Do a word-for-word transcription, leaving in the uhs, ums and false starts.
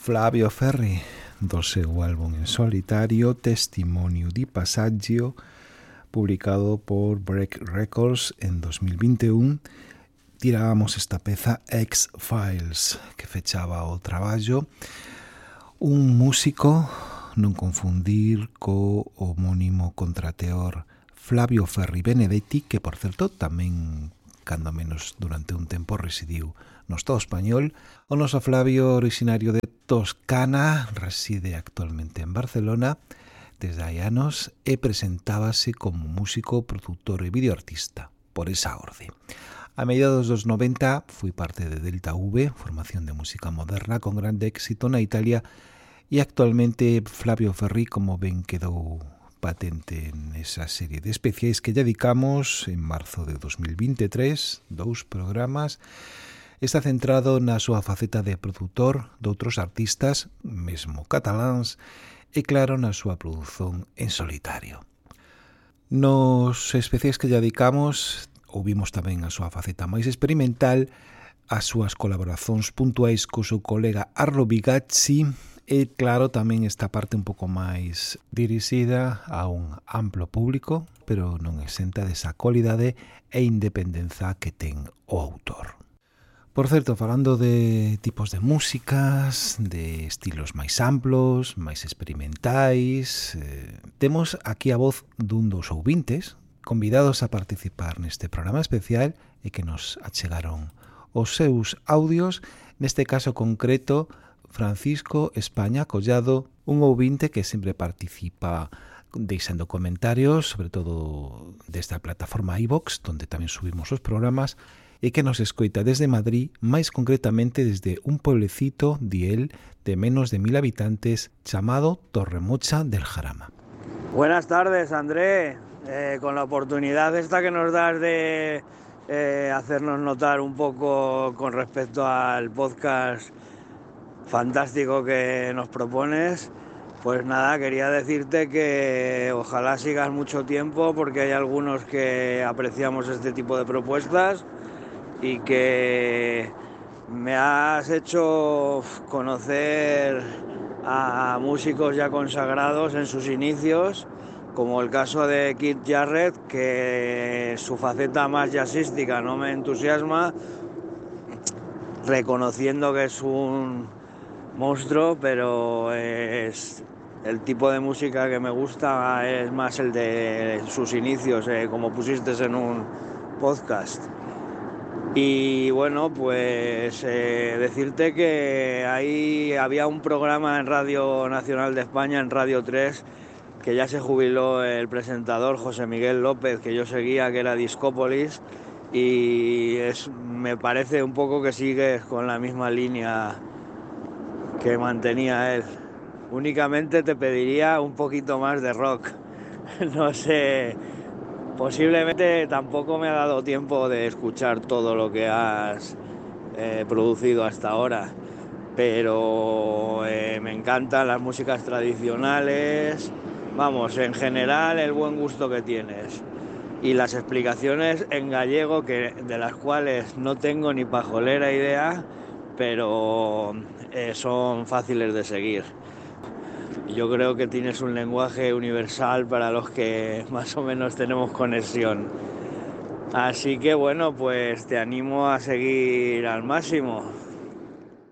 Flavio Ferri, do seu álbum en solitario Testimonio di Passaggio, publicado por Break Records en dos mil vinte e un. Tirábamos esta peza X-Files, que fechaba o traballo. Un músico, non confundir co homónimo contrateor Flavio Ferri Benedetti, que, por certo, tamén, cando menos durante un tempo, residiu no Estado español. O noso Flavio, originario de Toscana, reside actualmente en Barcelona desde hai anos e presentábase como músico, produtor e videoartista, por esa orde. A mediados dos noventa foi parte de Delta V, formación de música moderna con grande éxito na Italia, e actualmente Flavio Ferri, como ben quedou patente en esa serie de especiais que lle dedicamos en marzo de dos mil vinte e tres, dous programas, está centrado na súa faceta de produtor de outros artistas, mesmo cataláns, e claro, na súa produción en solitario. Nos especiais que lle dedicamos, ouvimos tamén a súa faceta máis experimental, as súas colaboracións puntuais co seu colega Arlo Bigazzi, e claro, tamén esta parte un pouco máis dirixida a un amplo público, pero non exenta desa cualidade e independenza que ten o autor. Por certo, falando de tipos de músicas, de estilos máis amplos, máis experimentais, eh, temos aquí a voz dun dos ouvintes convidados a participar neste programa especial e que nos achegaron os seus audios, neste caso concreto Francisco España Collado, un ouvinte que sempre participa deixando comentarios, sobre todo desta plataforma iVox, donde tamén subimos os programas, e que nos escoita desde Madrid, máis concretamente desde un pueblecito, di él, de menos de mil habitantes, chamado Torremocha del Jarama. Buenas tardes, André. Eh, con la oportunidad esta que nos das de eh, hacernos notar un poco con respecto al podcast fantástico que nos propones, pues nada, quería decirte que ojalá sigas mucho tiempo, porque hay algunos que apreciamos este tipo de propuestas y que me has hecho conocer a músicos ya consagrados en sus inicios, como el caso de Keith Jarrett, que su faceta más jazzística no me entusiasma, reconociendo que es un monstruo, pero es el tipo de música que me gusta es más el de sus inicios, eh, como pusiste en un podcast. Y bueno, pues eh, decirte que ahí había un programa en Radio Nacional de España, en Radio tres, que ya se jubiló el presentador José Miguel López, que yo seguía, que era Discópolis, y es, me parece un poco que sigues con la misma línea que mantenía él. Únicamente te pediría un poquito más de rock. No sé, posiblemente tampoco me ha dado tiempo de escuchar todo lo que has eh, producido hasta ahora, pero eh, me encantan las músicas tradicionales, vamos, en general el buen gusto que tienes y las explicaciones en gallego, que de las cuales no tengo ni pajolera idea, pero eh, son fáciles de seguir. Yo creo que tienes un lenguaje universal para los que más o menos tenemos conexión. Así que bueno, pues te animo a seguir al máximo.